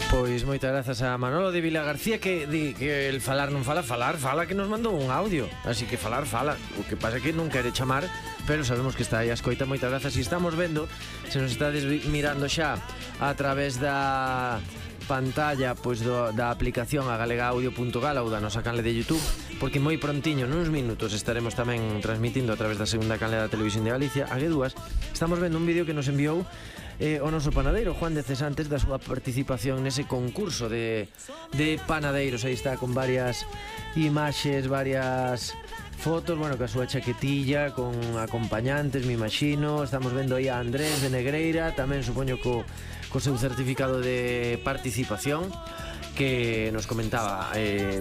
Pois moitas grazas a Manolo de Vila García que di que el falar non fala, fala que nos mandou un audio. Así que falar fala. O que pasa é que non quere chamar, pero sabemos que está aí a escoita. Moitas grazas. E estamos vendo, se nos estades mirando xa a través da pantalla pois da aplicación a galegaaudio.gal ou da nosa canle de YouTube, porque moi prontiño, nuns minutos, estaremos tamén transmitindo a través da segunda canle da Televisión de Galicia, a G2. Estamos vendo un vídeo que nos enviou o noso panadeiro Juan de Cesantes da súa participación nese concurso de panadeiros. Aí está con varias imaxes, varias fotos, bueno, ca súa chaquetilla con acompañantes, me imagino. Estamos vendo aí a Andrés de Negreira, tamén supoño co seu certificado de participación, que nos comentaba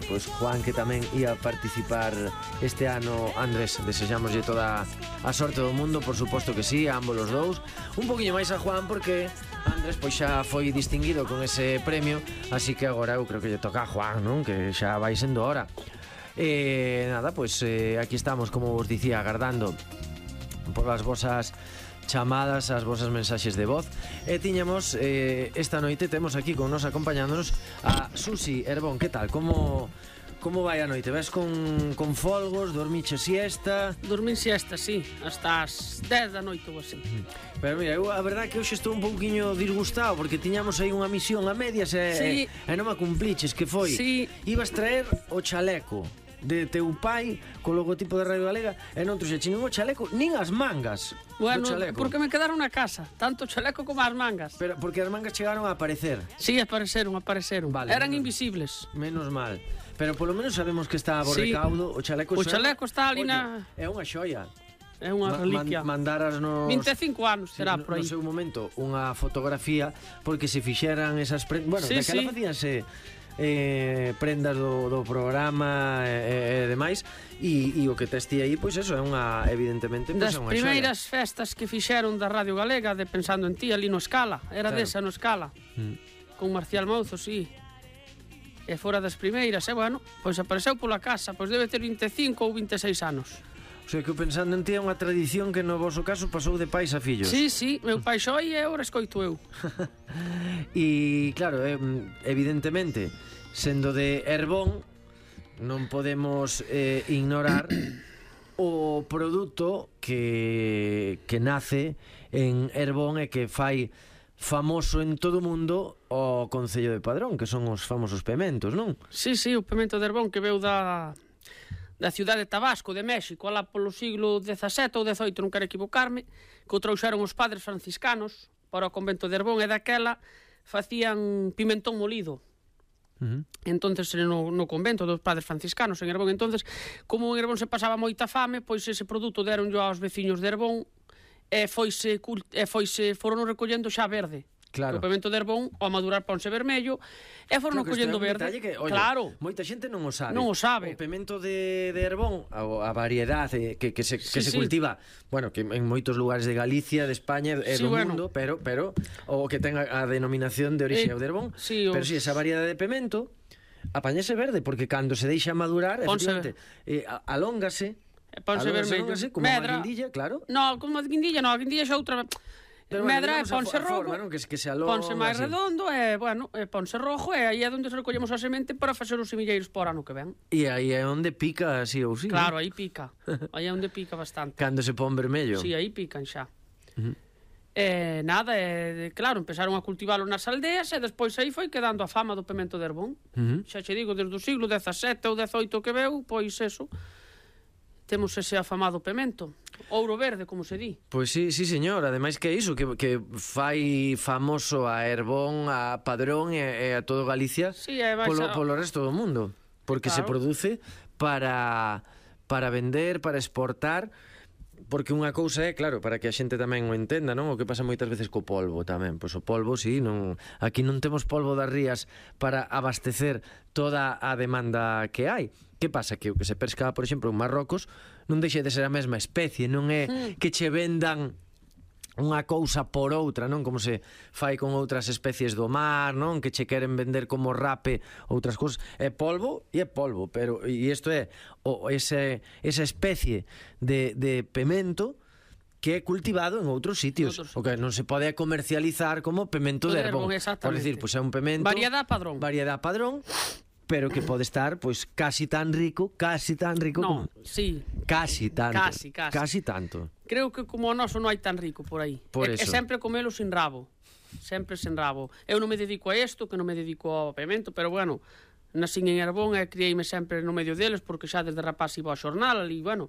pois Juan que tamén ia participar este ano. Andrés, desexámoslle toda a sorte do mundo, por suposto que sí, a ambos os dous. Un poquinho máis a Juan porque Andrés pois xa foi distinguido con ese premio, así que agora eu creo que lle toca a Juan, non? Que xa vai sendo hora. Nada, pois aquí estamos, como vos dicía, agardando por as vosas chamadas, as vosas mensaxes de voz. E tiñamos esta noite, temos aquí con nos acompañándonos a Susi Herbón. Que tal? Como vai a noite? Ves con folgos? Dormiche siesta? Dormín siesta, sí, hasta as 10 da noite ou así. Pero mira, eu a verdade que hoxe estou un pouquiño disgustado porque tiñamos aí unha misión a medias e non a cumpliches, que foi? Sí. Ibas traer o chaleco de teu pai co logotipo da Radio Galega e non trouxe nin o chaleco nin as mangas. Bueno, porque me quedaron na casa, tanto o chaleco como as mangas. Pero porque as mangas chegaron a aparecer. Sí, apareceron. Vale, eran invisibles. Menos mal. Pero polo menos sabemos que está a bo recaudo. O chaleco está ali na... É unha xoia. É unha reliquia. Mandarasnos 25 anos será por aí. No seu momento unha fotografía, porque se fixeran esas prendas, bueno, daquela facíanse prendas do programa e demais, e o que testi aí, pois eso é unha, evidentemente, pois é unha xoia. Das primeiras festas que fixeron da Radio Galega de Pensando en Ti, ali no Escala, era desa no Escala, con Marcial Mouzo, sí. E fora das primeiras, e bueno, pois apareceu pola casa, pois debe ter 25 ou 26 anos. O sea, que Pensando en Ti é unha tradición que no vosso caso pasou de pais a fillos. Sí, meu pai xoi e agora escoito eu. E claro, evidentemente, sendo de Herbón, non podemos ignorar o produto que nace en Herbón e que fai famoso en todo o mundo o Concello de Padrón, que son os famosos pementos, non? Sí, o pemento de Herbón que veu da ciudad de Tabasco, de México, alá polo siglo XVII ou XVIII, non quero equivocarme, que o trouxeron os padres franciscanos para o convento de Herbón, e daquela facían pimentón molido. Entonces no convento dos padres franciscanos en Herbón, entonces como en Herbón se pasaba moita fame, pois ese produto deronllo aos veciños de Herbón e foron recollendo xa verde. Claro. O pemento de Herbón, ao madurar ponse vermello, e foron collendo verde. Que, oye, claro. Moita xente non o sabe. Non o sabe. O pemento de Herbón, a variedade que se cultiva, bueno, que en moitos lugares de Galicia, de España e do mundo, pero o que ten a denominación de orixe de Herbón, pero si esa variedade de pemento apañase verde, porque cando se deixa madurar, efectivamente, alóngase, ponse vermello. Como a guindilla, claro. No, como a guindilla, a guindilla xa outra... Pero medra, ponse rojo, forma, ¿no? que se alonga, ponse máis redondo e, bueno, ponse rojo, e aí é onde se recollemos a semente para facer os semilleiros para ano que ven. E aí é onde pica, así ou sí. Claro, aí pica. Aí é onde pica bastante. Cando se pon vermello. Sí, aí pican xa. Nada, claro, empezaron a cultivalo nas aldeas e despois aí foi quedando a fama do pemento de Herbón. Xa che digo, desde o siglo XVII ou XVIII que veu, pois eso, temos ese afamado pemento. Ouro verde, como se di. Pois sí, señor. Ademais que é iso, que fai famoso a Herbón, a Padrón e a todo Galicia, polo resto do mundo. Porque se produce para vender, para exportar. Porque unha cousa é, claro, para que a xente tamén o entenda, non? O que pasa moitas veces co polvo tamén. Pois o polvo, sí, aquí non temos polvo das rías para abastecer toda a demanda que hai. Que pasa? Que o que se pesca, por exemplo, en Marrocos non deixe de ser a mesma especie, non é que che vendan unha cousa por outra, non? Como se fai con outras especies do mar, non? Que che queren vender como rape outras cousas. É polvo, pero e isto é esa especie de pemento que é cultivado en outros sitios, o que non se pode comercializar como pemento de Herbón. Por decir, pois é un pemento variedad padrón, pero que pode estar pois casi tan rico no, como... sí. Casi tanto. Casi tanto. Creo que como o noso non hai tan rico por aí. Por é eso. sempre comelo sin rabo. Sempre sen rabo. Eu non me dedico a isto, que non me dedico ao pemento, pero bueno, nasín en Herbón e criei-me sempre no medio deles, porque xa desde rapaz iba ao xornal, e bueno,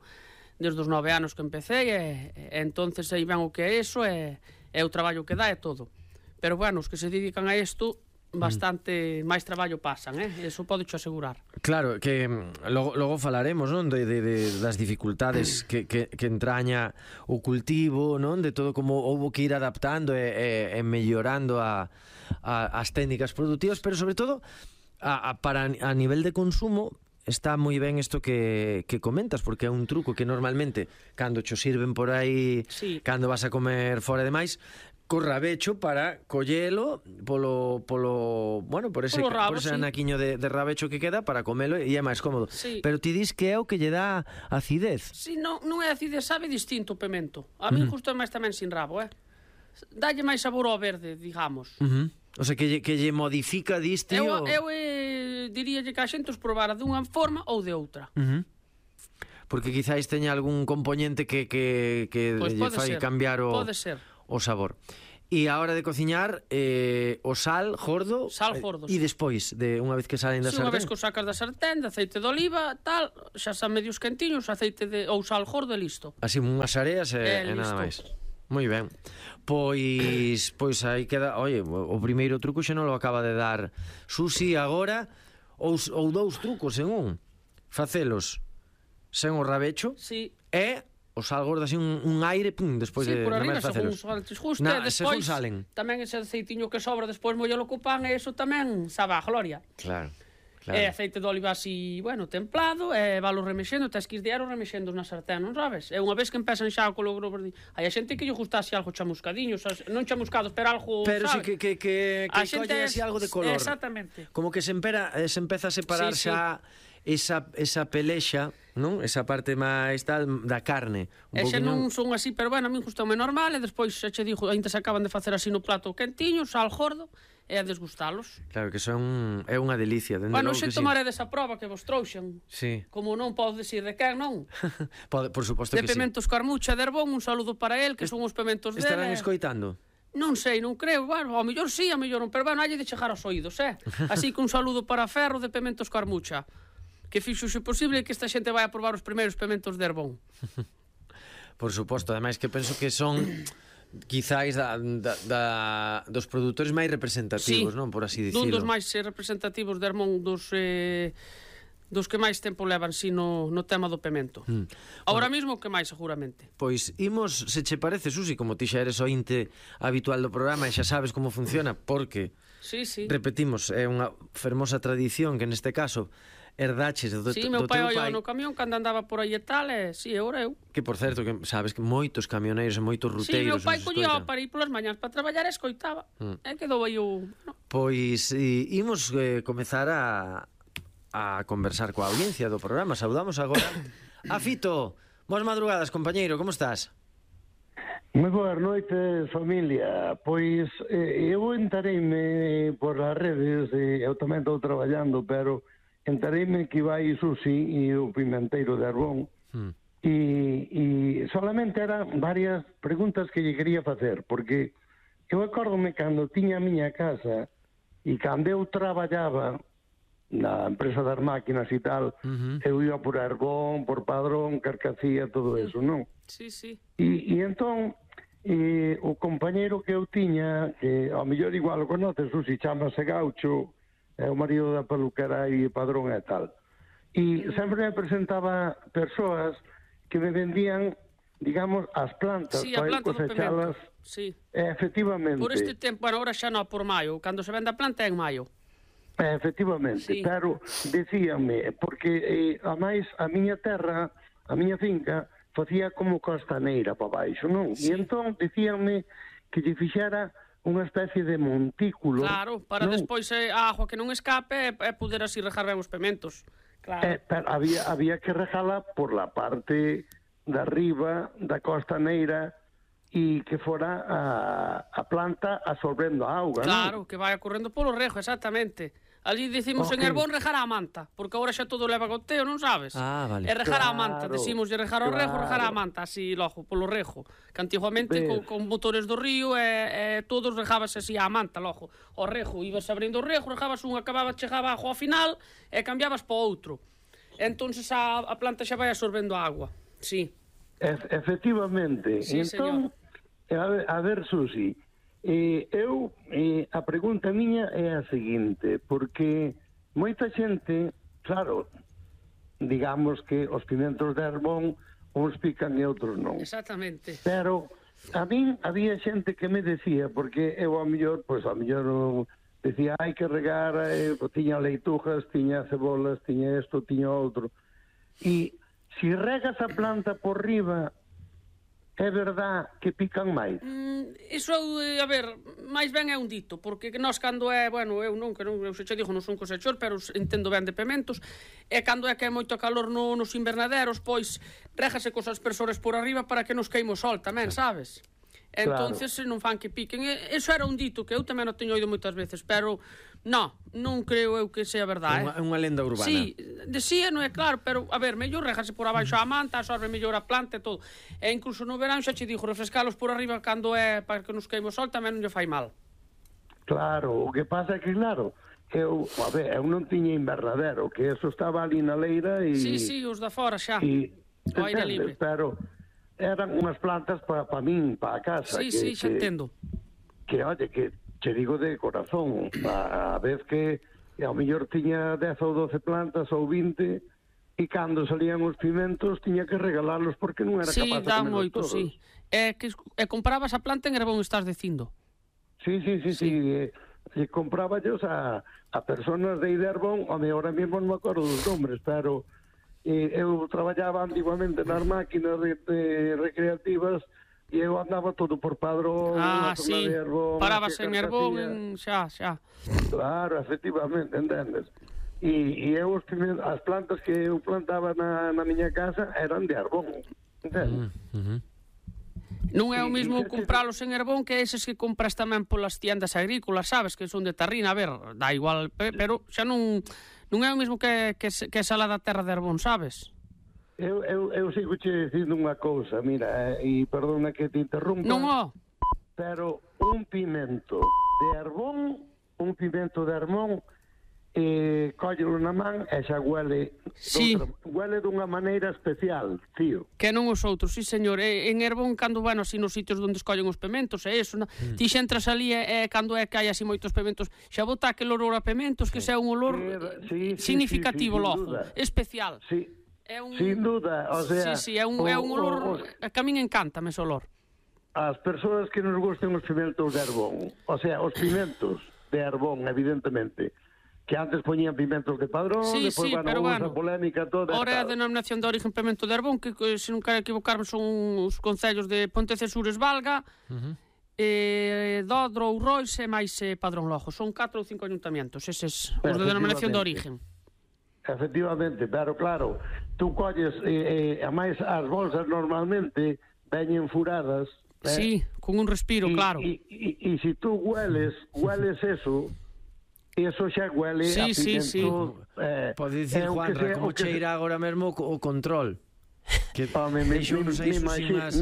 desde os 9 anos que empecé, e entonces aí ven o que é eso, e o traballo que dá e todo. Pero bueno, os que se dedican a isto, bastante máis traballo pasan, eso podo-cho asegurar. Claro, que logo falaremos, non, das dificultades que entraña o cultivo, non, de todo como houbo que ir adaptando e mellorando as técnicas productivas, pero sobre todo a nivel de consumo está moi ben isto que comentas, porque é un truco que normalmente cando cho sirven por aí, sí, cando vas a comer fora de máis, co rabecho para collelo por ese sí, anaquiño de rabecho que queda para comelo e é máis cómodo. Sí. Pero ti dis que é o que lle dá acidez. Si, non é acidez, sabe distinto o pemento. A min justo máis tamén sin rabo, dalle máis sabor ao verde, digamos. O sea, que lle modifica, diste eu diríalle que a xente os probara dunha forma ou de outra. Porque quizáis teña algún componente que Pois lle fai cambiar o sabor. E a hora de cociñar, o sal gordo e despois, unha vez que salen da sartén. Unha vez que o sacas da sartén, de aceite de oliva, tal, xa xa medios quentiños, aceite ou sal gordo e listo. Así unhas areas e nada máis. Moi ben. Pois aí queda, oye, o primeiro truco xa non lo acaba de dar Susi agora, ou dous trucos en un. Facelos sen o rabecho, sí, e o sal gordo así un aire, despois de por arriba, facelos. Según justo, e despois salen. Tamén ese aceitiño que sobra despois mollelo co pan, e eso tamén sabe a gloria. Claro. E aceite de oliva así, bueno, templado, e valo remexendo, tes que ir diario remexendo na sartén, non sabes? E unha vez que empezan xa co logro verde, hai a xente que lle gustase algo chamuscadiño, non chamuscados, pero algo, pero sabe? sí que colle así algo de color. Exactamente. Como que se empeza a separar xa esa pelexa, non? Esa parte máis tal da carne. E xa non son así, pero bueno, a min gustoume normal, e despois xa che dixo, ainda se acaban de facer así no plato quentiño, sal gordo, e a desgustalos. Claro, que é unha delicia. Bueno, xe tomaredes a proba que vos trouxen. Sí. Como non podo decir de quen, non? Por suposto que sí. De Pementos Carmucha de Herbón, un saludo para el, que son os pementos dele. Estarán escoitando? Non sei, non creo, bueno, ao mellor sí, ao mellor non, pero bueno, hai de chegar aos oídos, Así que un saludo para Ferro de Pementos Carmucha, que fixo se posible que esta xente vai a probar os primeiros pementos de Herbón. Por suposto, ademais que penso que son quizáis dos produtores máis representativos, non? Por así dicirlo. Dun dos máis representativos de Herbón, dos que máis tempo levan si no tema do pemento. Ahora mismo que máis, seguramente. Pois imos, se che parece, Susi, como ti xa eres ointe habitual do programa e xa sabes como funciona, porque repetimos, é unha fermosa tradición que neste caso herdaches do teu pai. Meu pai oía no camión cando andaba por aí e tal, agora eu. Que, por certo, que sabes que moitos camioneiros e moitos ruteiros... Meu pai collía para ir polas mañás para traballar e escoitaba. E quedou aí o... Pois imos comezar a conversar coa audiencia do programa. Saudamos agora a Fito. Boas madrugadas, compañeiro, como estás? Moi boas noites, familia. Pois eu entareime por as redes, eu tamén estou traballando, pero entareime que vai Susi e o Pimenteiro de Herbón, e solamente eran varias preguntas que lle quería facer, porque eu acórdome cando tiña a miña casa e cando eu traballaba na empresa das máquinas e tal, eu ia por Herbón, por Padrón, Carcacía, todo eso, non? Sí. E entón, o compañeiro que eu tiña, que ao mellor igual o conoces, Susi, chamase Gaucho, é o marido da peluquera e Padrón e tal. E sempre me presentaba persoas que me vendían, digamos, as plantas para cosechalas. Sí. Efectivamente. Por este tempo, bueno, ahora xa non por maio, cando se vende a planta é en maio. Efectivamente, pero decíame, porque a máis a miña terra, a miña finca, facía como costaneira para baixo, non? E entón decíame que lle fixera unha especie de montículo. Claro, para despois a agua que non escape e poder así rejar ben os pementos. Claro. Pero había que rejala por la parte de arriba da costaneira e que fora a planta absorbendo a auga, Claro, non? que vai correndo polo rejo, exactamente. Ali decimos en Herbón rejar a manta, porque agora xa todo leva goteo, non sabes? Vale. E rejar a manta, Claro, decimos de rejar ao rejo, rejar a claro. manta, así logo, polo rejo. Que antiguamente Ves. con motores do río todos rejábase así a manta, logo. O rejo, ibas abrindo o rejo, rejabas un, chegaba a agua ao final e cambiabas po outro. Entonces a planta xa vai absorbendo a agua, sí. Efectivamente. Sí, Entón, a ver, Susi, a pregunta miña é a seguinte, porque moita xente, claro, digamos que os pimentos de Herbón uns pican e outros non. Exactamente. Pero a min había xente que me decía, porque eu a mellor decía, hai que regar, tiña leitujas, tiña cebolas, tiña isto, tiña outro. E se regas a planta por riba, é verdad que pican máis? Iso, a ver, máis ben é un dito, porque nós cando é, bueno, eu xa che digo, non son cosechor, pero entendo ben de pementos, e cando é que é moito calor nos invernaderos, pois régase cos aspersores por arriba para que nos queime o sol tamén, sabes? Entonces non fan que piquen. Eso era un dito que eu tamén o teño oído moitas veces, pero non creo eu que sea verdade. É unha lenda urbana. Sí, non é claro, pero a ver, mellor régase por abaixo a manta, absorbe mellor a planta e todo. E incluso no verán xa che dixo, refrescalos por arriba cando é para que nos queime o sol tamén non lle fai mal. Claro, o que pasa é que, claro, eu non tiña invernadero, que eso estaba ali na leira e... Sí, os da fora xa, o aire libre. Pero eran unhas plantas para min, para a casa. Sí, xa entendo. Que, oye, que che digo de corazón, a vez que ao mellor tiña 10 ou 12 plantas ou 20, e cando salían os pimentos tiña que regalarlos porque non era capaz de dá comerlos moito, todos. sí. E comprabas a planta en Herbón, estás dicindo? Sí. E compráballos a personas de Herbón, ahora mesmo non me acordo dos nombres, pero eu traballaba antiguamente nas máquinas recreativas e eu andaba todo por Padrón, sí, de Herbón, parabas en Herbón, xa. Claro, efectivamente, entendes? E eu as plantas que eu plantaba na miña casa eran de Herbón, entendes? Non é o mesmo compralos en Herbón que eses que compras tamén polas tiendas agrícolas, sabes, que son de Tarrina, a ver, dá igual, pero xa non é o mesmo que esa lá da terra de Herbón, sabes? Eu sigo che dicindo unha cousa, mira, e perdona que te interrumpa. Non, pero un pimento de Herbón, cóllelo na man e xa huele dunha maneira especial, tío. Que non os outros, sí, señor. En Herbón, cando, bueno, así nos sitios onde escollen os pementos, e eso, ti xa entras ali cando é que hai así moitos pementos, xa bota aquel olor a pementos, que xa é un olor significativo, logo, especial. Sí, sin duda, o sea... Sí, é un olor que a min encántame ese olor. As persoas que nos gusten os pimentos de Herbón, o sea, os pimentos de Herbón, evidentemente, que antes poñían pimentos de Padrón, depois, pero esa polémica toda... Ora é a denominación de origen pimento de Herbón, que, se non quero equivocarme, son os concellos de Pontecesures, Valga, Dodro, Ourois e máis Padrón Lojo. Son 4 ou 5 ayuntamientos, eses, os de denominación de origen. Efectivamente, pero claro, tú colles, a máis as bolsas normalmente veñen furadas. Sí, con un respiro, claro. E se tú hueles eso xa huele a pimento. Pode dicir, Juanra, como cheira agora mesmo o control. Que deixou nos aí unhas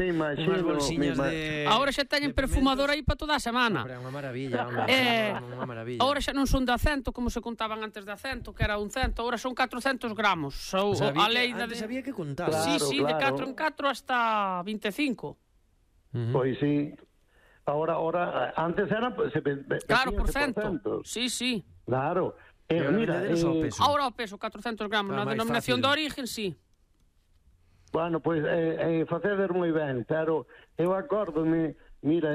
bolsiñas de... Agora xa teñen perfumador aí para toda a semana. É unha maravilla, unha maravilla. Agora xa non son de 100, como se contaban antes de 100, que era un 100, agora son 400 gramos. A lei antes había que contar. Sí, de 4 en 4 hasta 25. Pois sí. Ahora, antes era... Claro, por cento. Sí. Claro. Mira, ahora o peso, 400 gramos, na denominación de origen, sí. Bueno, pois, facedes moi ben, pero eu acórdome, mira,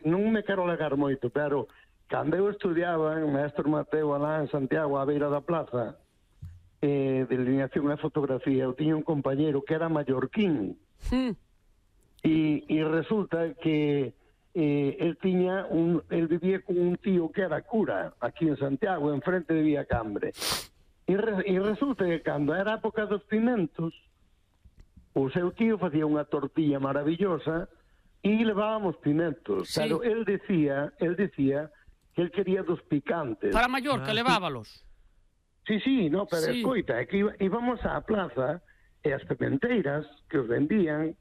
non me quero legar moito, pero cando eu estudiaba en Maestro Mateo alá en Santiago, á beira da plaza, de delineación e fotografía, eu tiña un compañeiro que era mallorquín, e resulta que el vivía con un tío que era cura aquí en Santiago, enfrente de Villacambre, e resulta que cando era a época dos pimentos, o seu tío facía unha tortilla maravillosa e levábamos pimentos, Sí. pero él decía que él quería dos picantes. Para Mallorca, levábalos. Sí, no, pero Sí. escoita, é que íbamos á plaza e as pimenteiras que os vendían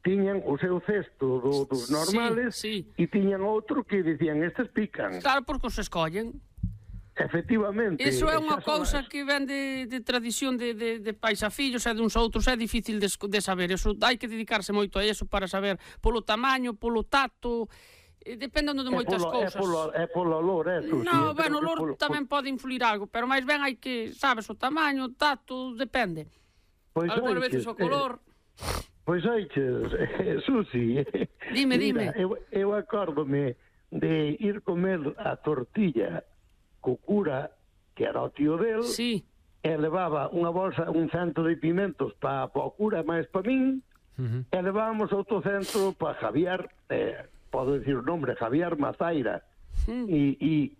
tiñan o seu cesto dos normales sí. e tiñan outro que dicían, estes pican. Claro, porque os escollen. Efectivamente. Iso é unha xa son cousa que ven de tradición de pais a fillos e de uns a outros, é difícil de saber. Eso hai que dedicarse moito a eso para saber polo tamaño, polo tato, dependendo de moitas cousas. É polo olor, eso. No, bueno, o olor tamén pode influir algo, pero máis ben hai que, sabes, o tamaño, o tato, depende. Pois Algunas veces o color. Pois oiches, Susi. Dime, mira, dime. Eu acórdome de ir comer a tortilla co cura, que era o tío del, Sí. e levaba unha bolsa, un cento de pimentos para o cura máis para min, e levábamos outro cento para Javier, podo dicir o nombre, Javier Mazaira. E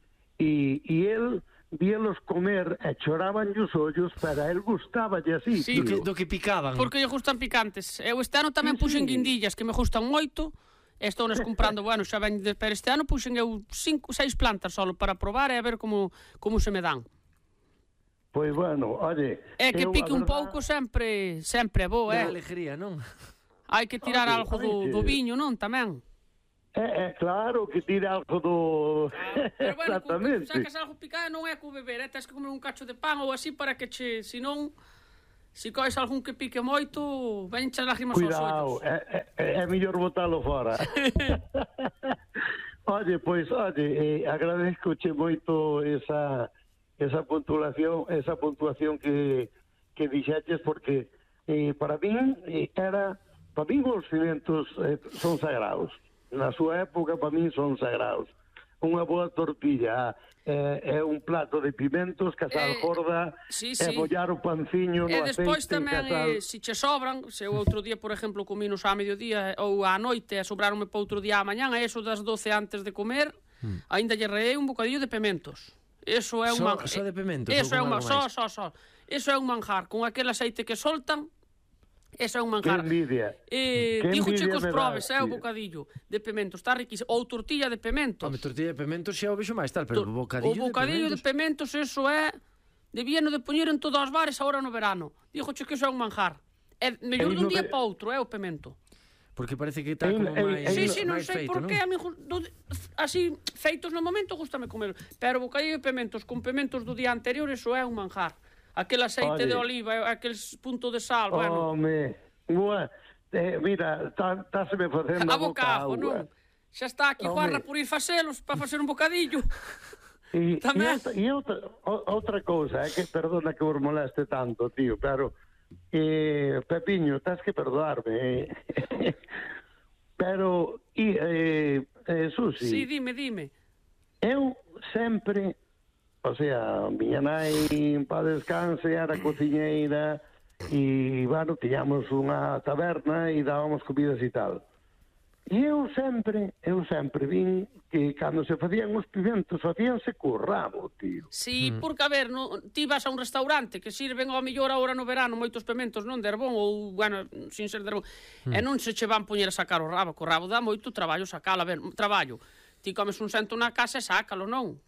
el víalos comer e choraban os ollos, para el gustaballe así, Sí, tío. Do que picaban. Porque lle gustan picantes. Eu este ano tamén puxen guindillas que me gustan moito. Estou nas comprando, bueno, xa ven, pero este ano puxen eu 5, 6 plantas solo para probar e a ver como se me dan. Pois bueno, oye... É que eu, pique a un verdad, pouco sempre é bo, Da alegría, non? Hai que tirar Oye, algo do viño, non, tamén. claro que tira algo do... Pero bueno, Exactamente. sacas algo picado non é co beber, tens que comer un cacho de pan ou así para que che, senón, se cois algún que pique moito, venche as lágrimas aos Cuidado, ollos. é mellor botalo fora. Oye, agradezcoche moito esa puntuación que dixeches, porque para min os pimentos son sagrados. Na súa época, para min son sagrados. Unha boa tortilla é un plato de pimentos, casal gorda, sí. e bollar o panciño no E aceite, despois tamén, casal... se che sobran, se eu outro día, por exemplo, cominos a mediodía ou á noite e sobraronme para outro día á mañán, a eso das 12 antes de comer, aínda lle reei un bocadillo de pimentos. Eso é un manjar. Só de pimentos? Eso é ou con un algo máis? só. Eso é un manjar, con aquel aceite que soltan. Eso é un manjar. Que envidia. Que Dígoche envidia cos me probes, das, o tío. bocadillo de pimentos, está riquísimo. Ou tortilla de pimentos. Home, tortilla de pimentos xa o vexo máis tal, pero o bocadillo de pimentos, eso é... Debíano de poñer en todos os bares agora no verano. Dígoche que eso é un manjar. É mellor dun día para outro, o pimento. Porque parece que está como máis Sí, non máis sei feito, por non? qué, a mí así feitos no momento gustame comer, pero bocadillo de pimentos con pimentos do día anterior, eso é un manjar. Aquel aceite Oye. de oliva, aquel punto de sal, bueno, Home, mira, estáseme facendo a boca ajo, agua. non? Xa está aquí Home. Juanra por ir facelos, para facer un bocadillo. E Tamén. outra cousa, que perdona que vos moleste tanto, tío, pero Pepiño, tens que perdoarme. Pero, Susi, Sí, dime. eu sempre, o sea, miña nai en paz descanse, era cociñeira, e, bueno, tiñamos unha taberna e dábamos comidas e tal. E eu sempre vin que cando se facían os pimentos, facíanse co rabo, tío. Sí, porque, a ver, ti vas a un restaurante que sirven ao mellor agora no verano moitos pimentos, non de Herbón, ou, bueno, sin ser de Herbón, e non se che van poñer a sacar o rabo, que o rabo dá moito traballo sacalo, a ver, traballo. Ti comes un cento na casa e sácalo, non?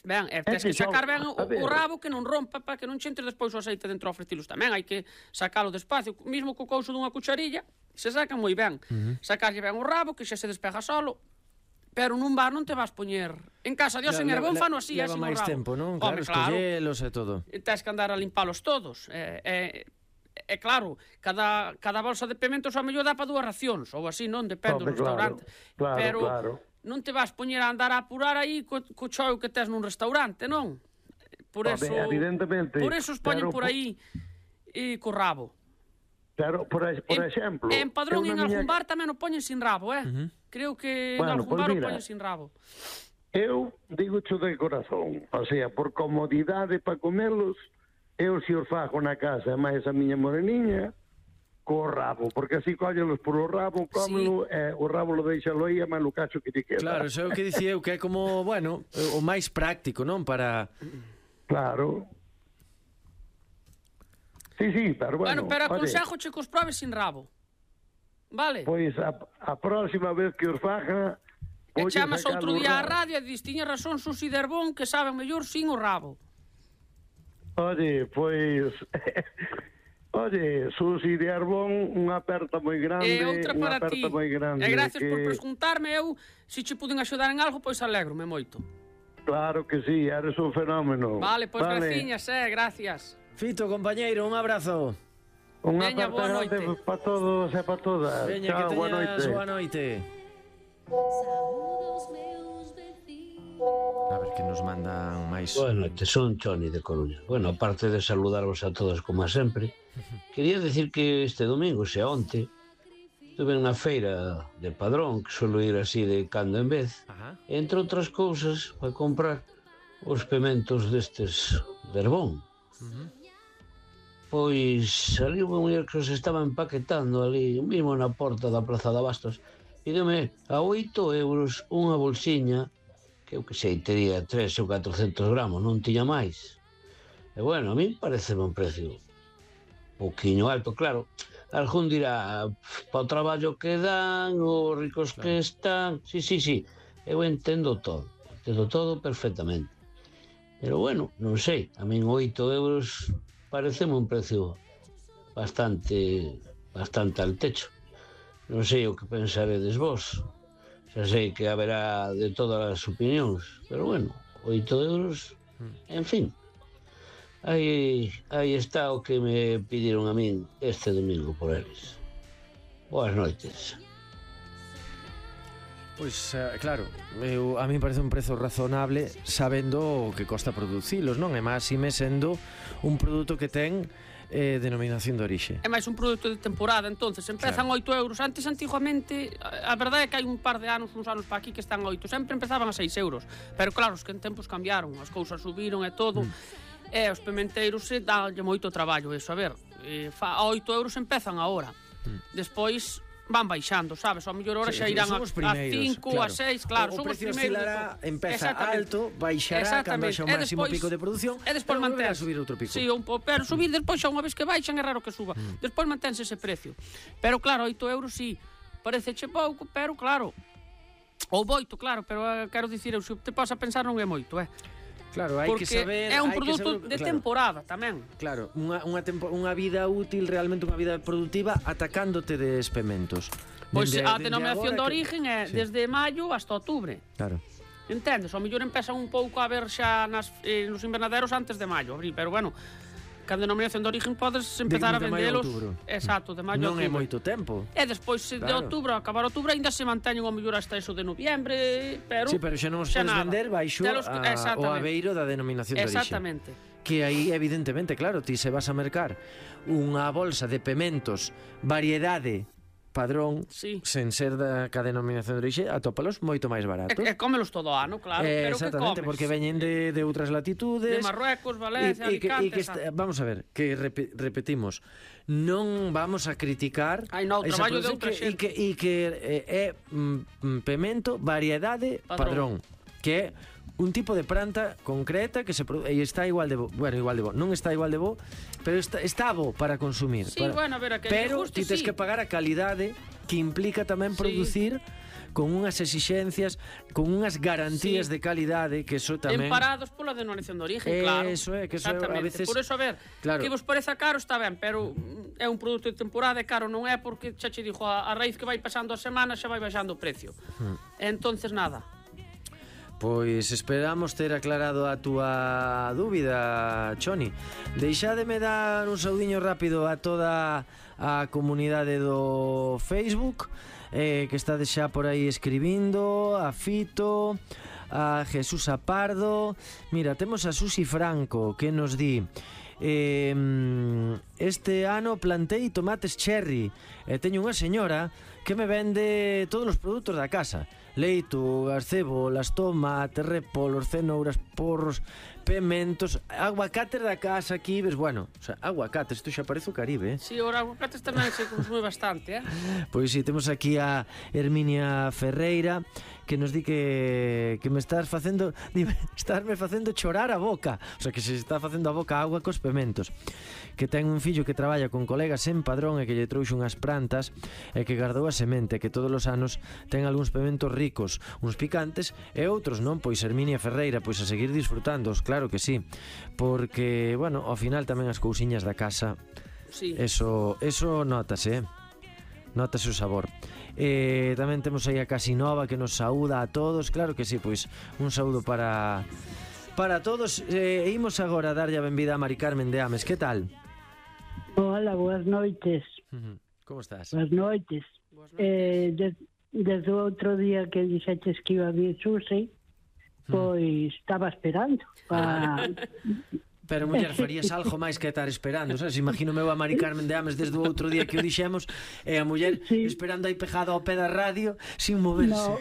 Ben, tens que sacar ben o rabo que non rompa para que non che entre despois o aceite dentro aos frestilos tamén, hai que sacalo despacio, mismo co couso dunha cucharilla, se saca moi ben. Sacarlle ben o rabo, que xa se despega solo, pero nun bar non te vas poñer. En casa, Dios, en Herbón fano así, leva así máis tempo, non? Claro, escollelos e todo. Tens que andar a limpalos todos. Claro, cada bolsa de pimentos ao mellor dá para 2 racións, ou así, non? Depende do restaurante. Pero non te vas poñer a andar a apurar aí co choio que tes nun restaurante, non? Por eso, evidentemente, por eso os poñen por aí co rabo. Pero, por exemplo... En Padrón e en algún bar tamén o poñen sin rabo, Creo que en algún bar o poñen sin rabo. Eu digo cho de corazón, o sea, por comodidade para comelos, eu se os fago na casa, máis a miña moreniña, co rabo, porque así cóllelos por o rabo, cómelo, e o rabo lo deixalo aí, e máis o cacho que te queda. Claro, iso é o que dicía eu, que é como, bueno, o máis práctico, non? Para... Claro. Sí, pero bueno... Pero aconsejo che que os probes sin rabo. Vale. Pois a próxima vez que os faja... E chamas outro día á radio e dis, tiña razón Susi de Herbón, que saben mellor sin o rabo. Oye, pois... Oye, Susi de Arbón, unha aperta moi grande. E outra para ti. Moi grande, e gracias por preguntarme. Eu, se che puden axudar en algo, pois alegro-me moito. Claro que sí, eres un fenómeno. Vale, pois graciñas, gracias. Fito, compañeiro, un abrazo. Unha Veña, boa aperta grande noite. para todos e para todas. Veña, Chao, que boa teñas noite. boa noite. A ver que nos mandan máis. Boa noite, son Choni de Coruña. Bueno, aparte de saludarvos a todos como sempre, quería decir que este domingo, xa onte, estuve unha feira de Padrón, que suelo ir así de cando en vez, entre outras cousas, para comprar os pementos destes de Herbón. Pois ali unha muller que os estaba empaquetando ali, mesmo na porta da Praza de Abastos, pídeme a 8 euros unha bolsiña, que eu que sei, tería 3 ou 400 gramos, non tiña máis. E bueno, a mí parece un precio pouquiño alto, claro. Algún dirá, para o traballo que dan, os ricos que están... Sí, eu entendo todo perfectamente. Pero bueno, non sei, a min 8 euros pareceme un precio bastante al techo. Non sei o que pensaredes vos. Xa sei que haberá de todas as opinións, pero bueno, 8 euros, en fin. Aí está o que me pidieron a min este domingo por eles. Boas noites. Pois, claro, a mí parece un prezo razonable sabendo o que costa producilos, non? E máis ime sendo un produto que ten denominación de orixe. É máis un produto de temporada, entonces empezan 8 euros. Antes, antiguamente, a verdade é que hai un par de anos, uns anos para aquí que están a 8, sempre empezaban a 6 euros, pero claro, os que en tempos cambiaron, as cousas subiron e todo, e os pementeiros se danlle moito traballo, eso, a ver, a 8 euros empezan agora, despois van baixando, sabes? Ao mellor ahora xa irán a 5, claro. A 6, claro, son os primeiros. O precio oscilará, empeza alto, baixará cando haxa un máximo pico de produción, e despois volverá a subir outro pico. Sí, pero subir despois xa unha vez que baixan é raro que suba. Despois mantense ese precio. Pero claro, 8 euros sí, pareceche pouco, pero claro, ou moito, claro, pero quero dicir, eu se te podes a pensar non é moito, Claro, hai que saber... é un produto de temporada tamén. Claro, unha vida útil, realmente unha vida productiva, atacándote de experimentos. Pois a denominación de origen é desde maio hasta outubro. Claro. Entendes? Ao mellor empezan un pouco a ver xa nos invernaderos antes de maio, abril, pero bueno, que a denominación de origen podes empezar a vendelos. Exacto, de maio a outubro. Non é moito tempo. E despois de outubro, acabar outubro, ainda se manteñen ao mellor hasta eso de noviembre, pero... Sí, pero xa non os podes vender baixo o abeiro da denominación de orixe. Exactamente. Que aí, evidentemente, claro, ti se vas a mercar unha bolsa de pementos, variedade, Padrón, sen ser ca denominación de orixe, atópalos moito máis baratos. E cómelos todo ano, claro, pero que comes? Porque veñen de outras latitudes. De Marruecos, Valencia, Alicante... Vamos a ver, que repetimos, non vamos a criticar o traballo de outra xente. E que é pemento, variedade, Padrón, que é un tipo de planta concreta que se e está igual de bo, non está igual de bo, pero está bo para consumir. Sí, bueno, a ver, pero ti tes que pagar a calidade que implica tamén producir con unhas exixencias, con unhas garantías de calidade, que eso tamén... Emparados pola denominación de origen, claro. Eso é, que eso a veces... Por eso, a ver, que vos pareza caro está ben, pero é un produto de temporada e caro non é porque xa che dixo a raíz que vai pasando a semana xa vai baixando o precio. Entonces, nada. Pois esperamos ter aclarado a túa dúbida, Choni. Deixádeme dar un saudiño rápido a toda a comunidade do Facebook, que está xa por aí escribindo, a Fito, a Jesús Apardo. Mira, temos a Susi Franco, que nos di: este ano plantei tomates cherry e teño unha señora que me vende todos os produtos da casa: leito, cebolas, tomates, repolos, cenouras, porros, pementos, aguacates da casa aquí, ves, bueno, o sea, aguacates, isto xa parece o Caribe, Sí, os aguacates tamén se consume bastante, Pois si, temos aquí a Herminia Ferreira, que nos di que me estás facendo, estarme facendo chorar a boca, o sea, que se está facendo a boca agua cos pementos, que ten un fillo que traballa con colegas en Padrón e que lle trouxe unhas plantas e que guardou a semente, que todos os anos ten algúns pementos ricos, uns picantes e outros non. Pois Herminia Ferreira, pois a seguir disfrutándoos, claro que sí, porque, bueno, ao final tamén as cousiñas da casa, Sí. eso notase, notase o sabor. Tamén temos aí a Casinova que nos saúda a todos, claro que sí, pois un saúdo para todos. Imos agora a darlle a benvida a Mari Carmen de Ames. Que tal? Hola, boas noites. Como estás? Boas noites. Desde o outro día que dixeches que iba a vir Susi, pois estaba esperando Pero, muller, farías algo máis que estar esperando, sabes? Imagino meu a Mari Carmen de Ames desde o outro día que o dixemos, e a muller esperando aí pejada ao pé da radio sin moverse. No,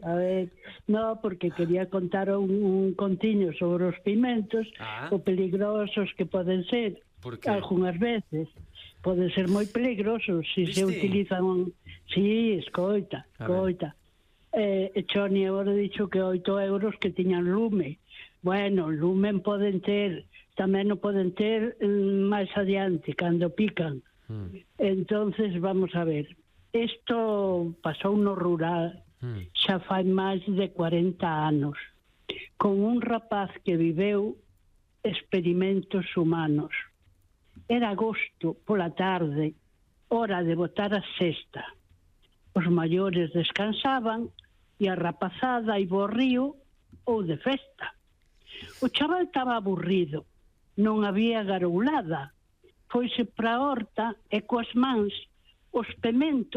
a ver, no, porque quería contar un contiño sobre os pimentos, o peligrosos que poden ser. Por que? Algunhas veces poden ser moi peligrosos se se utilizan. Sí, escoita. Choni agora dixo que 8 euros que tiñan lume. Bueno, lumen poden ter, tamén non poden ter máis adiante, cando pican. Entonces, vamos a ver, isto pasou no rural, xa fai máis de 40 anos, con un rapaz que viveu experimentos humanos. Era agosto, pola tarde, hora de botar a cesta. Os maiores descansaban e a rapazada iba ao río ou de festa. O chaval estaba aburrido, non había garoulada, foise para a horta e coas mans os pementos